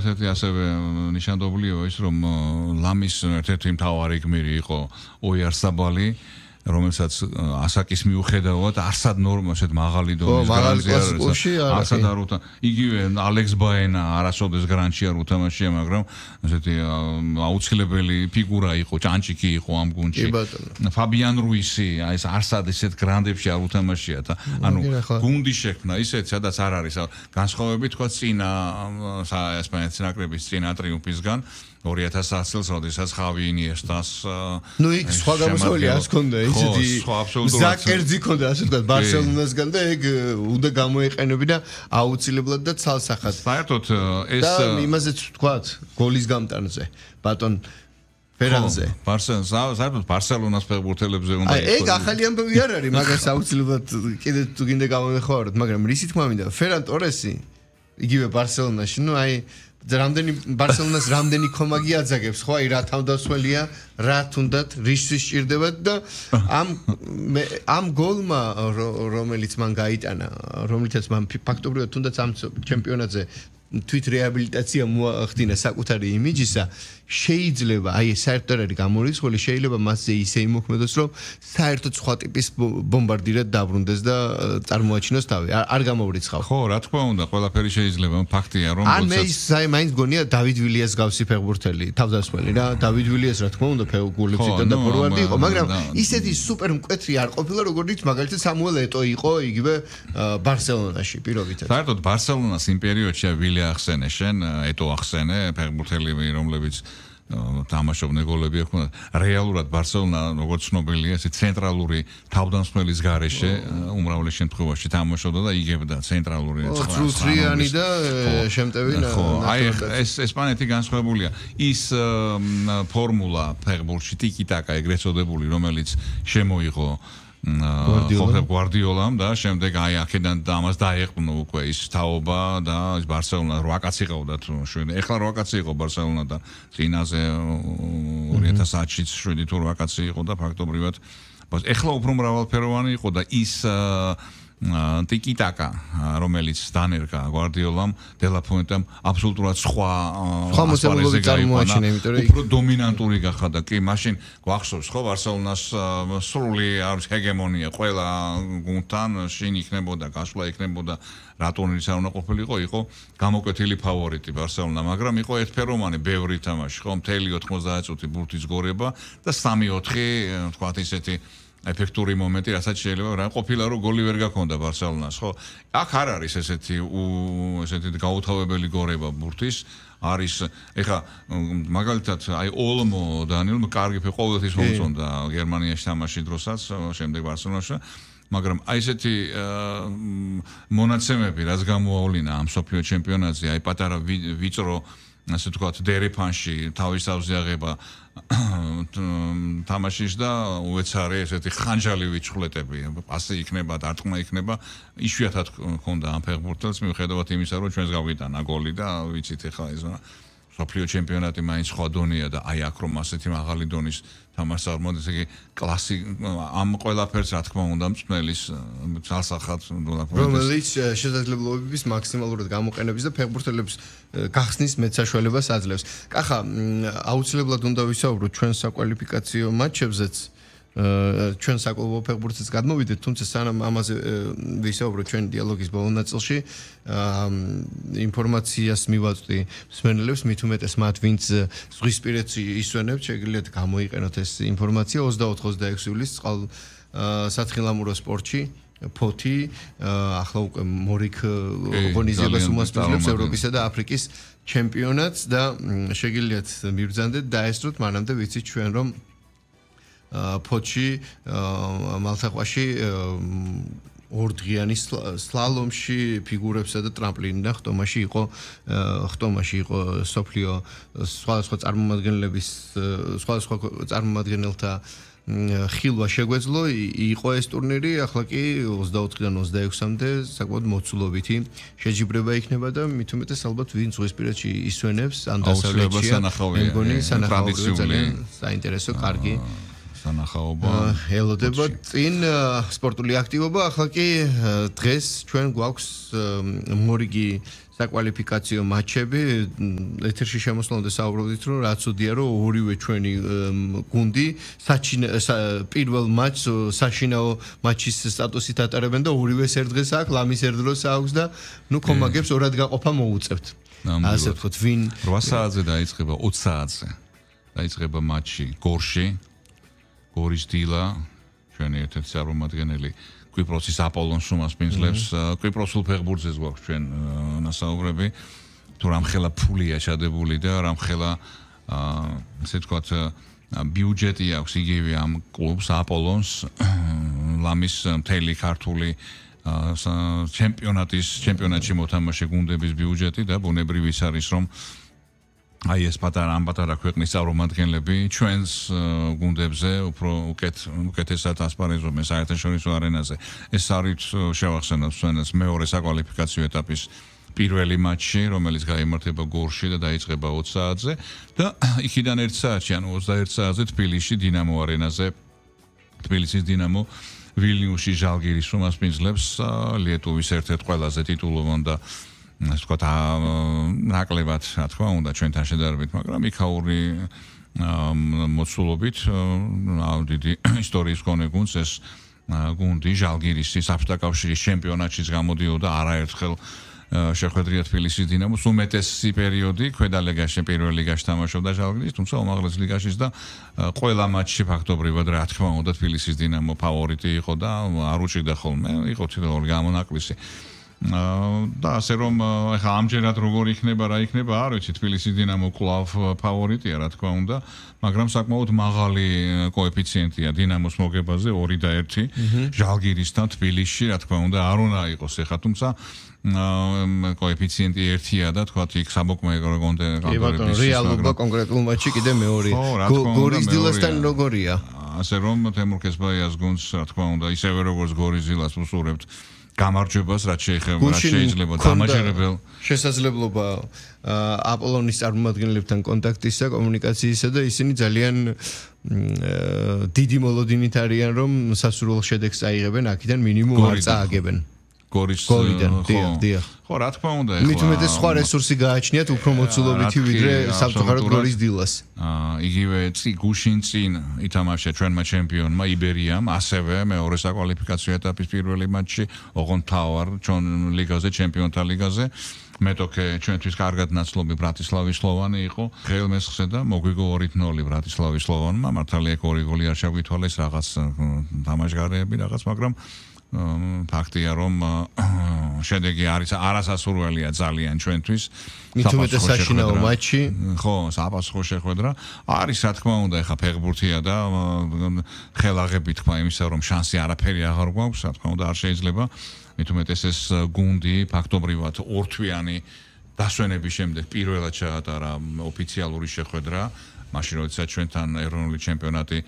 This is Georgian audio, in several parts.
ერთ-ერთი ასევე ნიშანდობლია ის რომ ლამის ერთ-ერთი მთავარი გმირი იყო ოიარსაბალი რომელსაც ასაკის მიუხედავად არსად ნორმა შედ მაღალი დონის გრანზია არსად არ უთა იგივე ალექს ბაენა არასოდეს გრანჩი არ უთამაშია მაგრამ ესეთი აუცილებელი ფიგურა იყო ჭანჭიკი იყო ამ გუნდში ფაბიან რუისი აი ეს არსად ესეთ გრანდებში არ უთამაშია და ანუ გუნდი შექმნა ისეთ სადაც არ არის განსხვავებით თქვა წინა ესპანეთის ნაკრების წინა ტრიუმფისგან 2010 წელს როდესაც ხავი ინიესტას ნუ იქ სხვა გამოსავალი არ ჰქონდა ისეთი ზაკერძი ჰქონდა ასე ვთქვათ ბარსელონასგან და ეგ უნდა გამოეყენებინა აუცილებლად და ცალსახად საერთოდ ეს და იმაზეც ვთქვათ გოლის გამტანზე ბატონ ფერანზე საერთოდ ბარსელონას ფეხბურთელებზე უნდა იყოს ეგ ახალი ამბავი არ არის მაგას აუცილებლად კიდე თუ გინდა გამოვეხმაროთ მაგრამ რისი თქმა მინდა ფერან ტორესი იგივე ბარსელონაში ნუ აი რამდენი ბარსელონას რამდენი ხომაგი აძაგებს ხო აი რა თავდასხმელია რა თუნდაც რისთვის სჭირდებათ და ამ გოლმა რომელიც მან გაიტანა რომლითაც მან ფაქტობრივად თუნდაც ამ ჩემპიონატზე თვით რეაბილიტაცია მოახდინა საკუთარი იმიჯისა შეიძლება აი საერთოდ არის გამორიცხული შეიძლება მასზე ისე იმოქმედოს რომ საერთოდ სხვა ტიპის ბომბარდირად დაბრუნდეს და წარმოაჩინოს თავი არ გამორიცხავ ხო რა თქმა უნდა ყველაფერი შეიძლება ფაქტია რომ ან მე აი მაინც გონია დავიდ ვილიას გავსი ფეხბურთელი თავდასხმელი რა დავიდ ვილიას რა თქმა უნდა გულებში და ფორვარდი იყო მაგრამ ისეთი სუპერ მკვეთრი არ ყოფილა როგორც მაგალითად სამუელ ეტო იყო იგივე ბარსელონაში პირობითად საერთოდ ბარსელონას იმ პერიოდში ვილია ახსენე შენ ეტო ახსენე ფეხბურთელები რომლებიც თამაშობდნენ გოლები ჰქონდათ რეალურად ბარსელონა როგორც ცნობილია ესე ცენტრალური თავდამსხმელის გარეშე უმრავლეს შემთხვევაში თამაშობდა და იგებდა ცენტრალური ცრუცრიანი და შემტევი ხო აი ეს ესპანეთი განსხვავებულია ის ფორმულა ფეხბურთში ტიკი-ტაკა ეგრეთ წოდებული რომელიც შემოიღო გვარდიოლამ და შემდეგ აი აქედან ამას დაეყნო უკვე ის თაობა და ის ბარსელონა 8 კაცი ყავდა თუ ეხლა 8 კაცი იყო ბარსელონა და წინაზე 2010-ში 7 თუ 8 კაცი იყო და ფაქტობრივად ეხლა უფრო მრავალფეროვანი იყო და ის ტიკი-ტაკა რომელიც დანერგა გვარდიოლამ დელაფუენტამ აბსოლუტურად სხვა მოსახლეობის წარმოაჩინა იმიტომ რომ უფრო დომინანტური გახადა კი მაშინ გვახსოვს ხო ბარსელონას სრული არის ჰეგემონია ყველა გუნდთან შინ იქნებოდა გასვლა იქნებოდა რა ტურნირის არ უნდა ყოფილიყო იყო გამოკვეთილი ფავორიტი ბარსელონა მაგრამ იყო ერთფეროვანი ბევრი თამაში ხო მთელი 90 წუთი ბურთის გორება და 3-4 თქვა ისეთი ეფექტური მომენტი, რასაც შეიძლება რა ყოფილა რომ გოლი ვერ გაქონდა ბარსელონას, ხო? აქ არ არის ესეთი გაუთავებელი გორება ბურთის, არის ეხა მაგალითად აი ოლმო დანიელ კარგი ყოველთვის მომწონდა გერმანიაში თამაში დროსაც, შემდეგ ბარსელონაში მაგრამ აი ესეთი მონაცემები რაც გამოავლინა ამ სოფლიო ჩემპიონატზე, აი პატარა ვიწრო ასე ვთქვათ დერეფანში თავის თავზე აღება თამაშის და უეცარი ესეთი ხანჯალი ვიჩხლეტები ასე იქნება დარტყმა იქნება იშვიათად ქონდა ამ ფეხბურთელს მიუხედავად იმისა რომ ჩვენს გავიტანა გოლი და ვიცით ეხლა ეს სოფლიო ჩემპიონატი მაინც სხვა დონეა და აი აქ რომ ასეთი მაღალი დონის თამაშს არ მოდის იგი კლასი ამ ყველაფერს რა თქმა უნდა მწმელის ძალსახად რომელიც შესაძლებლობების მაქსიმალურად გამოყენების და ფეხბურთელებს გახსნის მეტ საშუალებას აძლევს. კახა აუცილებლად უნდა ვისაუბროთ ჩვენ საკვალიფიკაციო მატჩებზეც ჩვენ საკლუბო ფეხბურთის გადმოვიდეთ, თუმცა სანამ ამაზე ვისაუბროთ ჩვენ დიალოგის ბოლო ნაწილში, ინფორმაციას მივაწვდი მსმენელებს, მით უმეტეს მათ, ვინც ზღვისპირეთს ისვენებთ, შეგიძლიათ გამოიყენოთ ეს ინფორმაცია 24-26 ივლისს სათხილამურო სპორტში ფოთი ახლა უკვე მორიგ ორგანიზებას უმასპინძლებს ევროპისა და აფრიკის ჩემპიონატს და შეგიძლიათ მიბრძანდეთ დაესწროთ, მანამდე ვიცით ჩვენ რომ ფოთში მალთაყვაში ორდღიანი სლალომში ფიგურებსა და ტრამპლინიდან ხტომაში იყო სოფლიო სხვადასხვა წარმომადგენლების სხვადასხვა წარმომადგენელთა ხილვა შეგვეძლო იყო ეს ტურნირი ახლა კი 24-დან 26-მდე საკმაოდ მოცულობითი შეჯიბრება იქნება და მით უმეტეს ალბათ ვინ ზღვისპირეთში ისვენებს ან დასავლეთშია მე მგონი სანახაობრივად ძალიან საინტერესო კარგი სანახაობა ელოდება წინ სპორტული აქტივობა ახლა კი დღეს ჩვენ გვაქვს მორიგი საკვალიფიკაციო მატჩები ეთერში შემოსვლამდე საუბრობდით რომ რაც უდია რომ ორივე ჩვენი გუნდი პირველ მატჩს საშინაო მატჩის სტატუსით ატარებენ და ორივეს ერთ დღეს აქვს ლამის ერთ დროს აქვს და ნუ კომაგებს ორად გაყოფა მოუწევთ ასე ვთქვათ ვინ 8 საათზე დაიწყება 20 საათზე დაიწყება მატჩი გორში გორის დილა ჩვენი ერთ-ერთი წარმომადგენელი კვიპროსის აპოლონს უმასპინძლებს კვიპროსულ ფეხბურთზე გვაქვს ჩვენ ნასაუბრები თუ რამხელა ფულია ჩადებული და რამხელა ესე ვთქვათ ბიუჯეტი აქვს იგივე ამ კლუბს აპოლონს ლამის მთელი ქართული ჩემპიონატში მოთამაშე გუნდების ბიუჯეტი და ბუნებრივი ის არის რომ აი ეს პატარა ქვეყნის წარმომადგენლები ჩვენს გუნდებზე უფრო უკეთესად ასპარეზობენ საერთაშორისო არენაზე. ეს არის შევახსენოთ ჩვენს მეორე საკვალიფიკაციო ეტაპის პირველი მატჩი, რომელიც გაიმართება გორში და დაიწყება 20 საათზე და იქიდან 1 საათში, ანუ 21 საათზე თბილისში დინამო არენაზე თბილისის დინამო ვილნიუსში ჟალგირის უმასპინძლებს ლიეტუვის ერთ-ერთ ყველაზე ტიტულოვან და ასე ვთქვათ ნაკლებად რა თქმა უნდა ჩვენთან შედარებით, მაგრამ იქაური მოცულობით დიდი ისტორიის მქონე გუნდს ეს გუნდი ჟალგირისი საბჭოთა კავშირის ჩემპიონატშიც გამოდიოდა არაერთხელ შეხვედრია თბილისის დინამოს უმეტესი პერიოდი ქვედა ლიგაში პირველ ლიგაში თამაშობდა ჟალგირის, თუმცა უმაღლეს ლიგაშიც და ყველა მატჩში ფაქტობრივად რა თქმა უნდა თბილისის დინამო ფავორიტი იყო და არ უჭირდა ხოლმე, იყო თითოეული გამონაკლისი. და ასე რომ ეხლა ამჯერად როგორ იქნება რა იქნება არ ვიცი თბილისის დინამო კლავ ფავორიტია რა თქმა უნდა მაგრამ საკმაოდ მაღალი კოეფიციენტია დინამოს მოგებაზე 2 და 1 ჟალგირისთან თბილისში რა თქმა უნდა არ უნდა იყოს ეხლა თუმცა კოეფიციენტი 1-ია და თქვათ იქ საბოკმე კონტროლების რეალობა კონკრეტულ მატჩში კიდე მეორე გორის დილასთან როგორია ასე რომ თემურ კესბაიას გუნდს რა თქმა უნდა ისევე როგორც გორის დილას უსურებთ გამარჯვებას რაც შეიძლება დამაჯერებელ შესაძლებლობა აპოლონის წარმომადგენლებთან კონტაქტისა კომუნიკაციისა და ისინი ძალიან დიდი მოლოდინით არიან რომ სასურველ შედეგს აიღებენ აქედან მინიმუმ არ წააგებენ გორისიდან დიახ ხო რა თქმა უნდა ეხლა მით უმეტეს სხვა რესურსი გააჩნიათ უფრო მოცულობითი ვიდრე სამწუხაროდ გორის დილას იგივე გუშინ წინ ითამაშა ჩვენმა ჩემპიონმა იბერიამ ასევე მეორე საკვალიფიკაციო ეტაპის პირველი მატჩი ოღონდ თავარ ჩვენ ლიგაზე ჩემპიონთა ლიგაზე მეტოქე ჩვენთვის კარგად ნაცნობი ბრატისლავის სლოვანი იყო ხელმესხზე და მოგვიგო 2-0 ბრატისლავის სლოვანმა მართალია 2 გოლი არ შევგვითვალეს რაღაც თამაშგარეები რაღაც მაგრამ ფაქტია რომ შედეგი არის არასასურველია ძალიან ჩვენთვის მით უმეტეს საშინაო მატჩი ხო საფასურო შეხვედრა არის რა თქმა უნდა ეხა ფეხბურთია და ხელაღები თქვა იმისა რომ შანსი არაფერი აღარ გვაქვს რა თქმა უნდა არ შეიძლება მით უმეტეს ეს გუნდი ფაქტობრივად ორთვიანი დასვენების შემდეგ პირველად ჩაატარა ოფიციალური შეხვედრა მაშინ როდესაც ჩვენთან ეროვნული ჩემპიონატი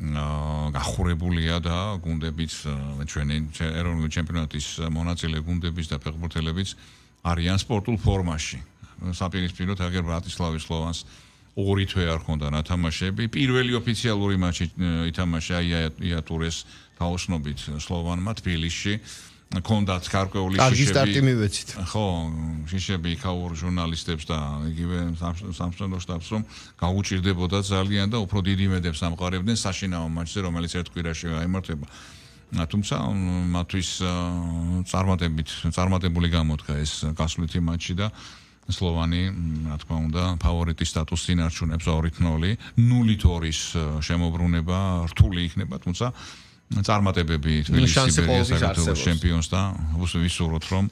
გახურებულია და გუნდებიც ჩვენი ეროვნული ჩემპიონატის მონაწილე გუნდებიც და ფეხბურთელებიც არიან სპორტულ ფორმაში. საპირისპიროდ აგერ ბრატისლავის სლოვანს 2 თვე არ ჰქონდა ნათამაშები. პირველი ოფიციალური მატჩი ითამაშა იატურეს თაოსნობით სლოვანმა თბილისში. კონდათ გარკვეული შიშები. კარგი სტარტი მივეცით. ხო, შიშები იქაურ ჟურნალისტებს და იგივე სამშობლო შტაბს რომ გაუჭირდებოდა ძალიან და უფრო დიდი იმედებს ამყარებდნენ საშინაო მატჩზე, რომელიც ერთ კვირაში გაიმართება. თუმცა მათთვის წარმატებული გამოდგა ეს გასვლითი მატჩი და სლოვანი, რა თქმა უნდა, ფავორიტის სტატუსს ინარჩუნებს 2-0, 0-2-ის შემოbrunება რთული იქნება, თუმცა წარმატებები თბილისის საგარეო ჩემპიონს და ვისურვოთ რომ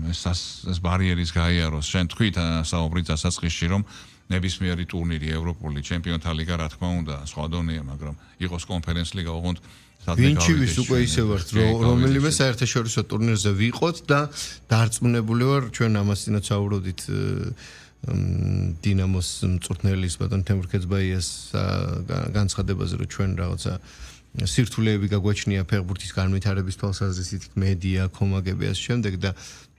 ეს ბარიერის გაიაროს. შენ თქვით საუბრის დასაწყისში რომ ნებისმიერი ტურნირი ევროპული ჩემპიონთა ლიგა რა თქმა უნდა სხვა დონეა, მაგრამ იყოს კონფერენს ლიგა ოღონდ ვინჩივის უკვე ისე ვართ რომელიმე საერთაშორისო ტურნირზე ვიყოთ და დარწმუნებული ვარ ჩვენ ამასთანაც საუბრობდით დინამოს მწვრთნელის ბატონ თემურ კეცბაიას განცხადებაზე რომ ჩვენ რაღაცა სირთულეები გაგვაჩნია ფეხბურთის განვითარების თვალსაზრისით მედია კომაგები ასე შემდეგ და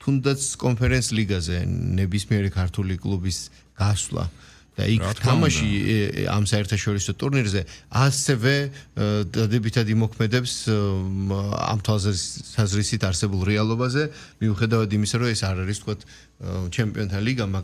თუნდაც კონფერენს ლიგაზე ნებისმიერი ქართული კლუბის გასვლა და იქ თამაში ამ საერთაშორისო ტურნირზე ასევე დადებითად იმოქმედებს ამ თვალსაზრისით არსებულ რეალობაზე, მიუხედავად იმისა, რომ ეს არ არის თქო ჩემპიონთა ლიგა, მაგრამ